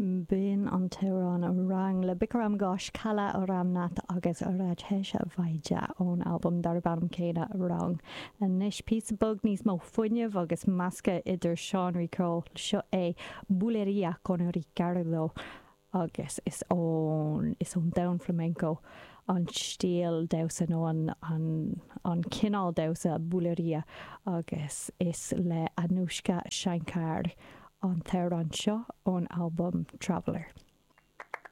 B'in an t-amhrán Rang le Bikram Ghosh, Kala Ramnath agus Rajesh Vaidya ón albam darb ainm céanna Rang. Anois píosa beag níos mó fuinnimh agus meascadh idir seánraí ceoil. Seo é Bulería con Ricardo agus is ón is ón domhan flamenco an stíl damhsa nó an an an cineál damhsa bulería agus is le Anoushka Shankar an t-amhrán seo ón albam Traveller.